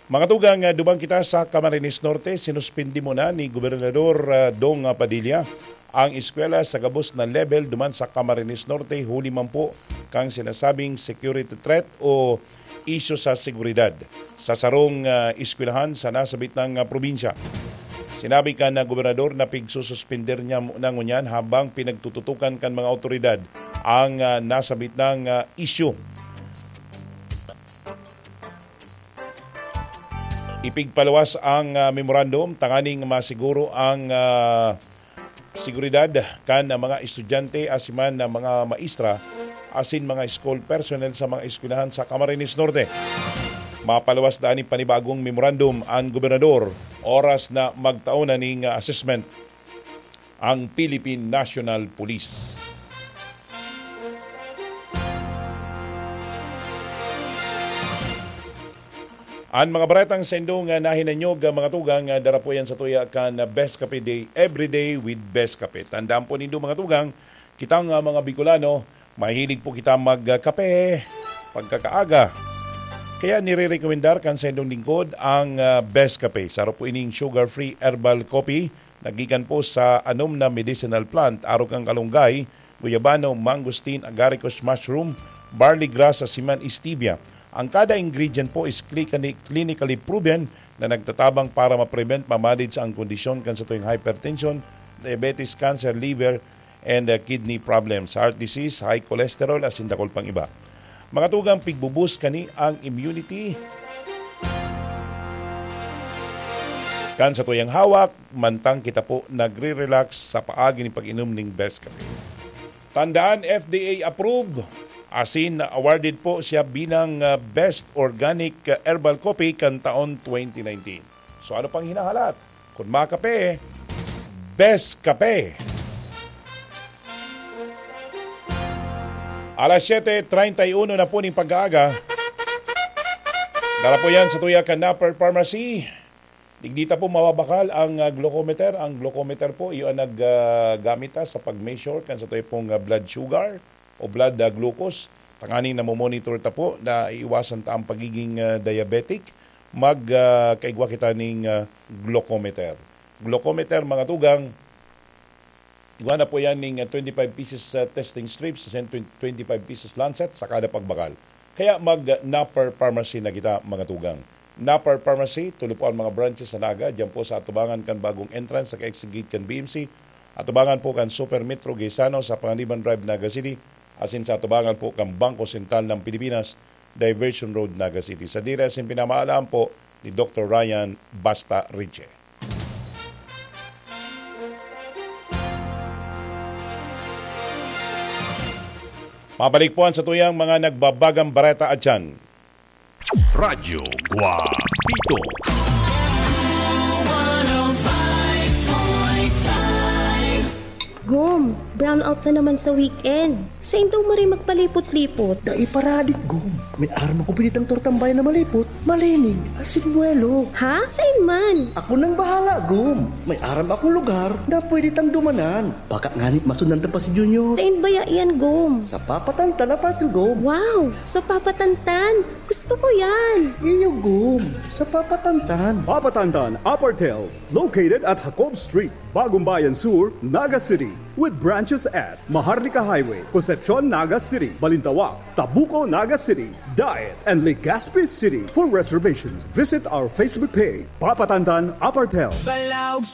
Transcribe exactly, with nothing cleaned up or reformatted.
Mga tugang, ah, duman kita sa Camarines Norte, sinuspindi muna ni Gobernador, ah, Dong, ah, Padilla ang eskwela sa gabos na level duman sa Camarines Norte, huli man po kan sinasabing security threat o isyu sa seguridad sa sarong, ah, eskwelahan sa nasabit na, ah, probinsya. Sinabi kan, ah, gobernador na pigsususpender niya muna ngunyan habang pinagtututukan kan mga awtoridad ang, ah, nasabit na, ah, isyu. Ipigpaluwas ang, ah, memorandum tanganing masiguro ang, ah, seguridad kan mga estudyante asin man na mga maestra asin mga school personnel sa mga eskwelahan sa Camarines Norte. Mapaluwas na nin panibagong memorandum ang gobernador oras na magtao na ning assessment ang Philippine National Police. An mga baretang sa indong, ah, nahinanyog, ah, mga tugang, ah, dara po yan sa tuya kan, ah, Best Cafe Day, Every Day with Best Cafe. Tandaan po nindo, mga tugang, kitang, ah, mga Bicolano, mahilig po kita mag, ah, kape pagkakaaga. Kaya nirerekomendar kan sa indong lingkod ang, ah, Best Cafe. Saro po ining sugar-free herbal coffee na gikan po sa anom na medicinal plant, arog kan kalunggay, guyabano, mangosteen, agaricus mushroom, barley grass, asin man stevia. Ang kada ingredient po is clinically, clinically proven na nagtatabang para ma-prevent, ma-manage ang kondisyon kan sa tuwing hypertension, diabetes, cancer, liver, and, uh, kidney problems, heart disease, high cholesterol, asin dakul pang iba. Mga tugang, pigbubus kani ang immunity kan sa tuyang hawak, mantang kita po nagre-relax sa paagi ni pag-inom ning Best Cafe. Tandaan, F D A approved, asin awarded po siya bilang, ah, Best Organic, ah, Herbal Coffee kan taon twenty nineteen. So ano pang hinahalat? Kun makape, Best Kape. Alas siyete treinta y uno na po ning pag-aaga. Dara po yan sa tuya kan Napper Pharmacy. Digdi ta po mababakal ang, ah, glucometer. Ang glucometer po, iyo ang nag, ah, gamit ta sa pag-measure kan sa tuya pong, ah, blood sugar o blood, ah, glucose. Tanganing namomonitor ta po na iiwasan ta ang pagiging, ah, diabetic. Mag, ah, kaigwa kita ning, ah, glucometer. Glucometer, mga tugang, igwa na po yan ning, ah, twenty-five pieces, ah, testing strips, and twen-, twenty-five pieces lancet sa kada pagbakal. Kaya mag, ah, Napper Pharmacy na kita, mga tugang. Napper Pharmacy, tulo po ang mga branches sa Naga, diyan po sa atubangan kan bagong entrance sa ka-exit gate kan B M C, atubangan po kan Super Metro Gaisano sa Panganiban Drive, Naga City, asin sa atubangan po kan Bangko Sentral ng Pilipinas, Diversion Road, Naga City. Sadiri asin pinamaalam po ni Doktor Ryan Basta Riche. Mabalik po ang sa tuyang mga nagbabagang bareta at dyan. Radyo Guapito. Gom, brownout na naman sa weekend. Sain daw maray magpalipot-lipot? Dai paradik, Gom. May aram akong pinitang tortang bayan na malipot, malinig, asin buwelo. Ha? Sain man? Ako nang bahala, Gom. May aram akong lugar na pwede tang dumanan. Baka ngani masundan ta pa si Junior. Sain baya yan, Gom? Sa Papatantan, Apartel, Gom. Wow! Sa Papatantan? Gusto ko yan! Iyo, Gom. Sa Papatantan. Papatantan, Apartel. Located at Jacob Street, Bagong Bayan Sur, Naga City, with branches at Maharlika Highway, Concepcion, Naga City, Balintawak, Tabuco, Naga City, Daet, and Legazpi City. For reservations, visit our Facebook page, Papatantan Apartel. Balaog